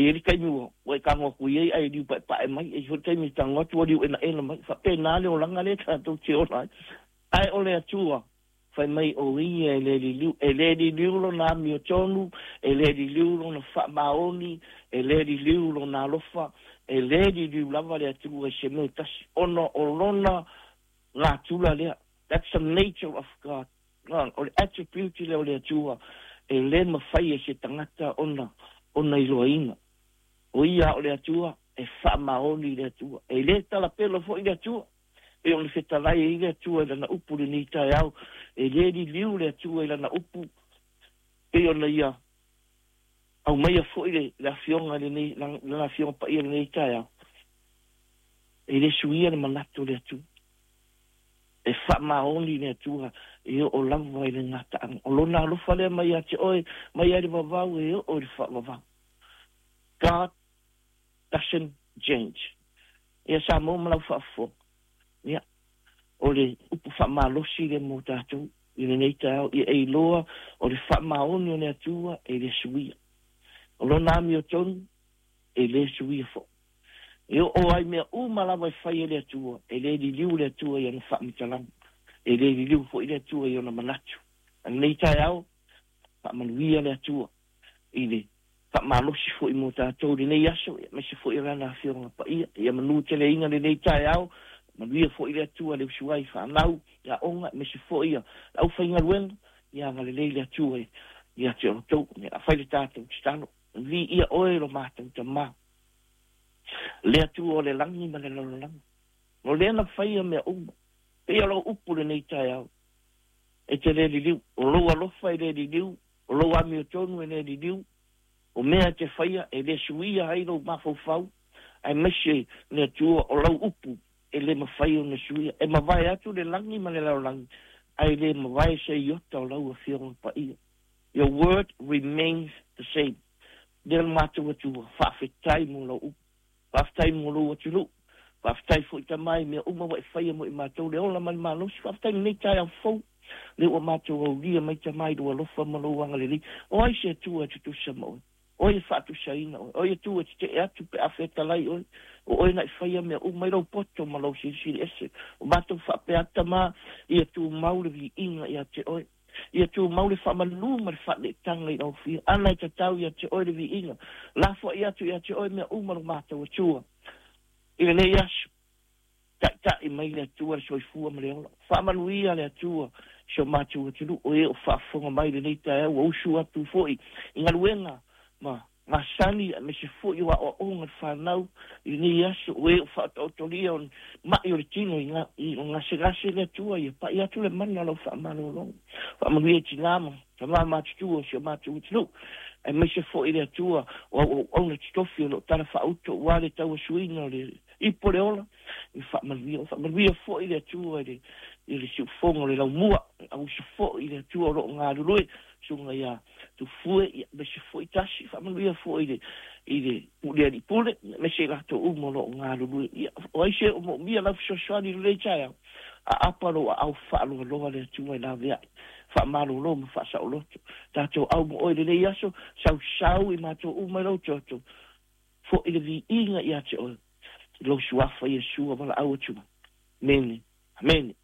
E i ai le taimi ua e tago atu i ai ae liu paepae mai, e i ai foi le taimi e tago atu ua liu enaena mai. E faapena le olaga lea tatou te ola ai. Ae o le Atua, fai mai o Ia e le liliu, e le liliu Lona amiotonu, e le liliu Lona faamaoni, e le liliu Lona alofa, e le liliu lava le Atua i se mea e tasi, ona o Lona natura lea. That's the nature of God. O le attribute lea o le Atua e le mafai e se tagata ona ona iloaina. O Ia o le Atua, e faamaoni le Atua. E le talapelo foi le Atua. E pei ona fetalai ai le Atua i Lana upu i lenei taeao, e le liliu le Atua i Lana upu, pei ona Ia aumaia foi le, le afioga i lenei, Lana Afioga Paia i lenei taeao. E le suia le manatu o le Atua. E faamaoni le Atua e oo lava i le gataaga. O Lona alofa lea mai ia te oe, mai lava i le vavau e oo i le faavavau. God doesn't change. Ia Samoa ma lau faafofoga, ia, o le upu faamalosi lea mo tatou i lenei taeao, ia e iloa o le faamaoni o le Atua e le suia. O Lona amiotonu e le suia foi. E oo ai mea uma lava e fai e le Atua, e le liliu le Atua i ana faamatalaga, e le liliu foi le Atua i ona manatu. A lenei taeao, faamanuia le Atua i le faamalosi foi mo tatou i lenei aso, aemaise foi o Lana Afioga Paia. Ia manuteleina lenei taeao, manuia foi le Atua i le usu ai i fanau, i aoga, aemaise foi le aufaigaluega, ia agalelei le Atua ia te outou. Ia fai le tatou tatalo. Viia oe lo matou Tama, le Atua o le lagi ma le lalolagi. O lea na faia mea uma. Pei o lau upu lenei taeao, e te le liliu. O lou alofa e le liliu, o lou amiotonu e le liliu, o mea e te faia e le suia ai lou mafaufau, aemaise le Atua o lau upu e le mafai ona suia. E mavae atu le lagi ma le lalolagi, ae le mavae se iota o lau Afioga Paia. Your word remains the same. Lea le matou Atua, faafetai mo lau upu. Faafetai mo lou atunuu. Faafetai foi Tama i mea uma ua e faia mo i matou le ola ma le malosi. Faafetai i lenei taeao fou, lea ua matou aulia mai Tama i lou alofa ma lou agalelei. O ai se Atua e tutusa ma oe? O ai e faatusaina oe? O ai Atua e tetee atu pe a fetalai oe? O oe na e faia mea uma i lou poto ma lou silisili ese. O matou faapea atu Tama, ia tumau le viiga ia te oe. Ia tumau le faamalu ma le faaneetaga i lau Afioga. Ana e tatau ia te oe le viiga. Lafoai atu ia te oe mea uma lo matou Atua i lenei aso. Taitai mai le Atua le soifua ma le ola. Faamanuia le Atua i si o matou atunuu, o e o faafofoga mai i lenei taeao, ua usu atu foi i galuega ma masani aemaise foi o aoaoga le fanau i lenei aso, o e o faataotolia o mai o le tino i, i o gasegase le Atua, ia pai atu le mana o lau faamalologa. Faamanuia i tinā ma tama matutua o si o matou atunuu, aemaise foi le Atua o auauauna totofi o lo o tala faauto aua le tauasuina o le ipu o le ola, i faamanuia. Faamanuia foi le Atua i le, i le siufofoga o le laumua, auuso foi le Atua o lo o galulue, susuga ia Tufue, ia, aemaise foi Tasi, faamanuia foi i le, i le Pule Alii Pule, aemaise i latou uma o lo o galulue. Ia, o ai se o moomia lau fesoasoani i lenei taeao? Aapa lou aao faaloaloa le Atua e laveai, faamalolo ma faasaoloto. Tatou au ma oe i lenei aso, sausau i matou uma i lou toto, foi le viiga ia te oe, i lou suafa Iesu a valaau atu ai. Amene. Amene.